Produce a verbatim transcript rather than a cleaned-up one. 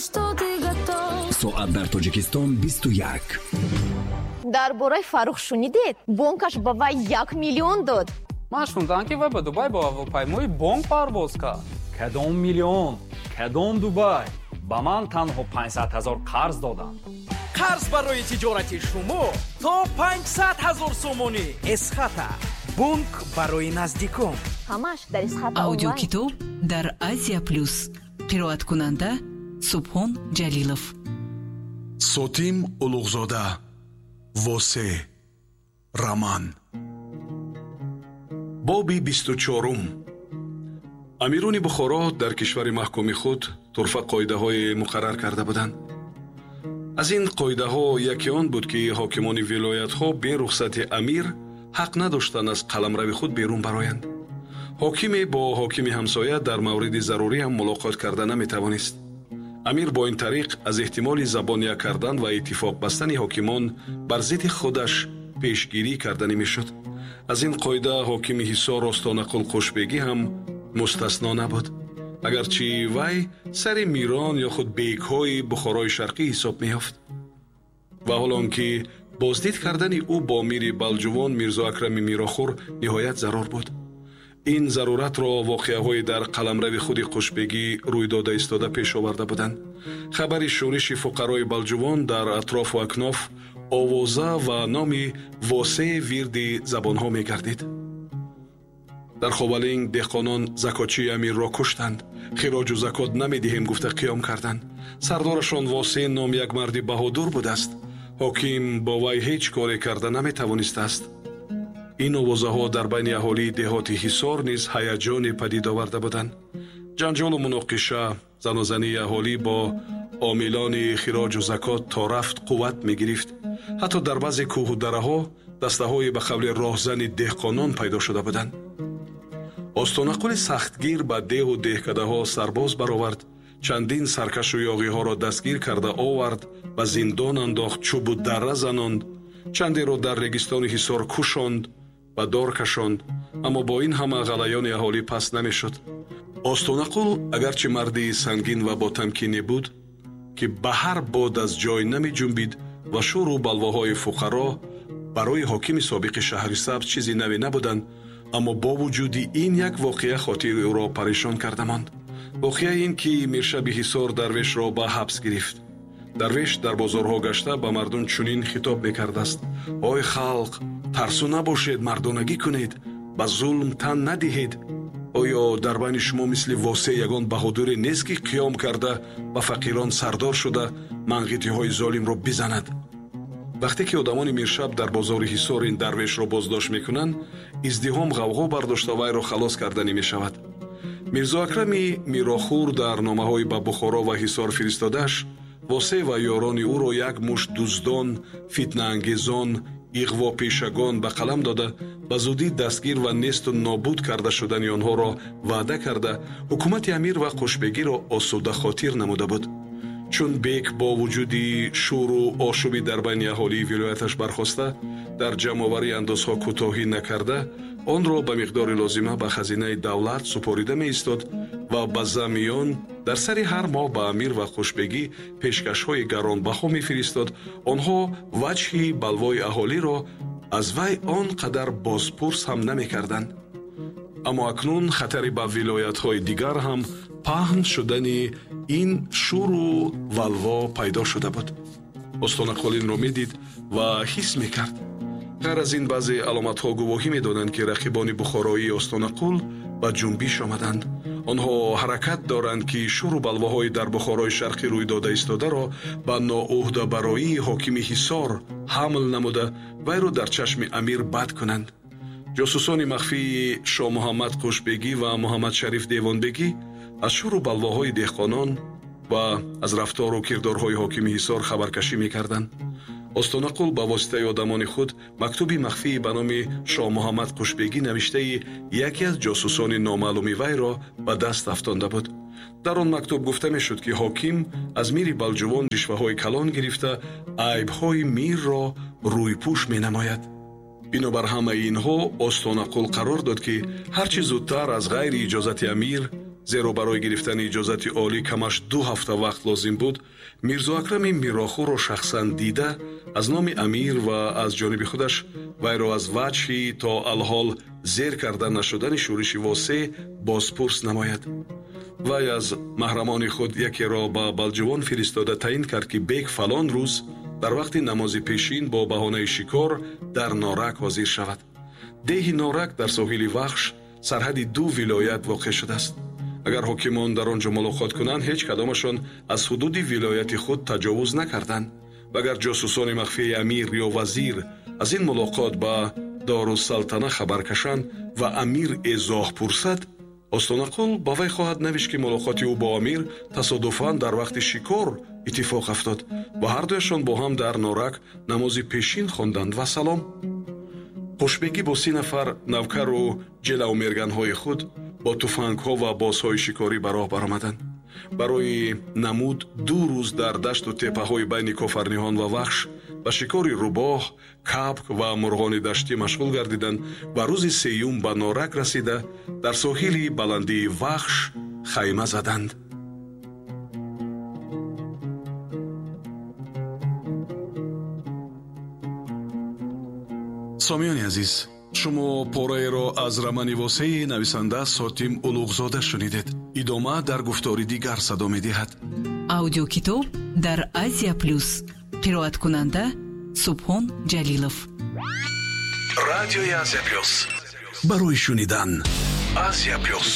Что ты готов. Соат дар Тоҷикистон бисту як. Дар бораи Фаррух шунидед? Бонкаш ба вай як миллион дод. Ман шунидам, ки вай ба Дубай бо ҳавопаймои бонк парвоз кард. Кадом миллион, кадом Дубай? Ба ман танҳо панҷсад ҳазор қарз доданд. Қарз барои тиҷорати шумо то панҷсад ҳазор сомонӣ. Эсхата, бонк барои наздикон. Ҳамаш дар Эсхата Онлайн. Аудиокитоб дар Азия Плюс. Қироаткунанда Субҳон Ҷалилов. Сотим Улуғзода, «Восе», роман. Боби бисту чорум. Амирони Бухоро дар кишвари маҳкуми худ турфа қоидаҳое муқаррар карда буданд. Аз ин қоидаҳо яке он буд, ки ҳокимони вилоятҳо бе рухсати амир ҳақ надоштанд аз қаламрави худ берун бароянд. Ҳокиме бо ҳокими ҳамсоя дар мавриди зарурӣ ҳам мулоқот карда наметавонист. Амир бо ин тариқ аз эҳтимоли забон як кардан ва иттифоқ бастани ҳокимон бар зидди худаш пешгирӣ карданӣ мешуд. Аз ин қоида ҳокими Ҳисор Остонақул Қушбегӣ ҳам мустасно набуд, агарчи вай сари мирон ё худ бекҳои Бухорои Шарқӣ ҳисоб меёфт. Ва ҳол он ки боздид кардани ӯ бо мири Балҷувон Мирзо Акрами Мирохур ниҳоят зарур буд. Ин заруратро воқеаҳои дар қаламрави худи Қушбегӣ рӯй дода истода пеш оварда буданд. Хабари шӯриши фуқарои Балҷувон дар атрофу акноф овоза ва номи Восеи вирди забонҳо мегардид. Дар Ховалинг деҳқонон закотчии амирро куштанд. Хироҷу закот намедиҳем, гуфта қиём карданд. Сардорашон Восе ном як марди баҳодур будааст. Ҳоким бо вай ҳеҷ коре карда наметавонистааст. Ин овозаҳо дар байни аҳолии деҳоти Ҳисор низ ҳаяҷоне падид оварда буданд. Ҷанҷолу муноқиша, занозании аҳолӣ бо омилони хироҷу закот то рафт қувват мегирифт. Ҳатто дар баъзе кӯҳу дараҳо дастаҳое ба қавли роҳзани деҳқонон пайдо шуда буданд. Остонақули сахтгир ба деҳу деҳкадаҳо сарбоз баровард, чандин саркашу ёғиҳоро дастгир карда овард, ба зиндон андохт, чӯбу дарра занонд, чандеро дар регистони Ҳисор кушонд, ба дор кашонд. Аммо бо ин ҳама ғалаёни аҳолӣ паст намешуд. Остонақул агарчи марди сангин ва ботамкине буд, ки ба ҳар бод аз ҷой намеҷунбид ва шӯру балвоҳои фуқаро барои ҳокими собиқи Шаҳрисабз чизи наве набуданд, аммо бо вуҷуди ин як воқеа хотири ӯро парешон карда монд. Воқеа ин ки миршаби Ҳисор Дарвешро ба ҳабс гирифт. Дарвеш дар бозорҳо гашта ба мардум чунин хитоб мекардааст: «Ой халқ, тарсу набошед, мардонагӣ кунед, ба зулм тан надиҳед. Оё дар байни шумо мисли Восе ягон баҳодуре нест, ки қиём карда, ба фақирон сардор шуда, манғитиҳои золимро бизанад?» Вақте ки одамони миршаб дар бозори Ҳисор ин дарвешро боздошт мекунанд, издиҳом ғавғо бардошта, вайро халос карданӣ мешавад. Мирзо Акрами Мирохур дар номаҳои ба Бухоро ва Ҳисор фиристодааш Восе ва ёрони ӯро як мушт дуздон, фитнаангезон, иғвопешагон ба қалам дода, ба зудӣ дастгир ва несту нобуд карда шудани онҳоро ваъда карда, ҳукумати амир ва Қушбегиро осудахотир намуда буд. Чун бек бо вуҷуди шӯру ошӯби дар байни аҳолии вилояташ бархоста, дар ҷамъоварии андозҳо кӯтоҳӣ накарда, онро ба миқдори лозима ба хазинаи давлат супорида меистод ва ба замми он дар сари ҳар моҳ ба амир ва Қушбегӣ пешкашҳои гаронбаҳо мефиристод, онҳо ваҷҳи балвои аҳолиро аз вай он қадар бозпурс ҳам намекарданд. Аммо акнун хатари ба вилоятҳои дигар ҳам паҳн шудани ин шӯру валво пайдо шуда буд. Остонақул инро медид ва ҳис мекард. Ғайр аз ин, баъзе аломатҳо гувоҳӣ медоданд, ки рақибони бухороии Остонақул ба ҷунбиш омаданд. Онҳо ҳаракат доранд, ки шӯру балвоҳои дар Бухорои Шарқӣ рӯй дода истодаро ба ноуҳдабароии ҳокими Ҳисор ҳамл намуда, вайро дар чашми амир бад кунанд. Ҷосусони махфии Шоҳмуҳаммад Қушбегӣ ва Муҳаммадшариф Девонбегӣ аз шӯру балвоҳои деҳқонон ва аз рафтору кирдорҳои ҳокими Ҳисор хабаркашӣ мекарданд. Остонақул ба воситаи одамони худ мактуби махфии ба номи Шоҳмуҳаммад Қушбегӣ навиштаи яке аз ҷосусони номаълуми вайро ба даст афтонда буд. Дар он мактуб гуфта мешуд, ки ҳоким аз мири Балҷувон ришваҳои калон гирифта, айбҳои мирро рӯйпӯш менамояд. Бинобар ҳамаи инҳо Остонақул қарор дод, ки ҳарчи зудтар аз ғайри иҷозати амир Зеро барои гирифтани иҷозати олӣ камаш ду ҳафта вақт лозим буд, Мирзо Акрами Мирохӯрро шахсан дида, аз номи амир ва аз ҷониби худаш вайро аз ваҷҳи то алҳол зер карда нашудани шӯриши Восеъ бозпурс намояд. Вай аз маҳрамони худ якеро ба Балҷувон фиристода таъин кард, ки бек фалон рӯз дар вақти намози пешин бо баҳонаи шикор дар Норак ҳозир шавад. Деҳи Норак дар соҳили Вахш, сарҳади ду вилоят воқеъ шудааст. Агар ҳокимон дар он ҷо мулоқот кунанд, ҳеҷ кадомашон аз ҳудуди вилояти худ таҷовуз накарданд. Ва агар ҷосусони махфии амир ё вазир аз ин мулоқот ба Дорусалтана хабар кашанд ва амир эзоҳ пурсад, Остонақул ба вай хоҳад навишт, ки мулоқоти ӯ бо амир тасодуфан дар вақти шикор иттифоқ афтод ва ҳардуяшон бо ҳам дар Норак намози пешин хонданд ва салом. Хушбегӣ бо си нафар навкару ҷелавмерганҳои худ бо туфангҳо ва бозҳои шикорӣ ба роҳ баромаданд. Барои намуд ду рӯз дар дашту теппаҳои байни Кофарниҳон ва Вахш ба шикори рӯбоҳ, кабк ва мурғони даштӣ машғул гардиданд ва рӯзи сеюм ба Норак расида дар соҳили баландии Вахш хайма заданд. Сомиёни азиз, шумо пораеро аз романи Восеи нависанда Сотим Улуғзода шунидед. Идома дар гуфтори дигар садо медиҳад. Аудиокитоб дар Азия Плюс. Қироаткунанда Субҳон Ҷалилов. Радиои Азия Плюс. Барои шунидан. Азия Плюс.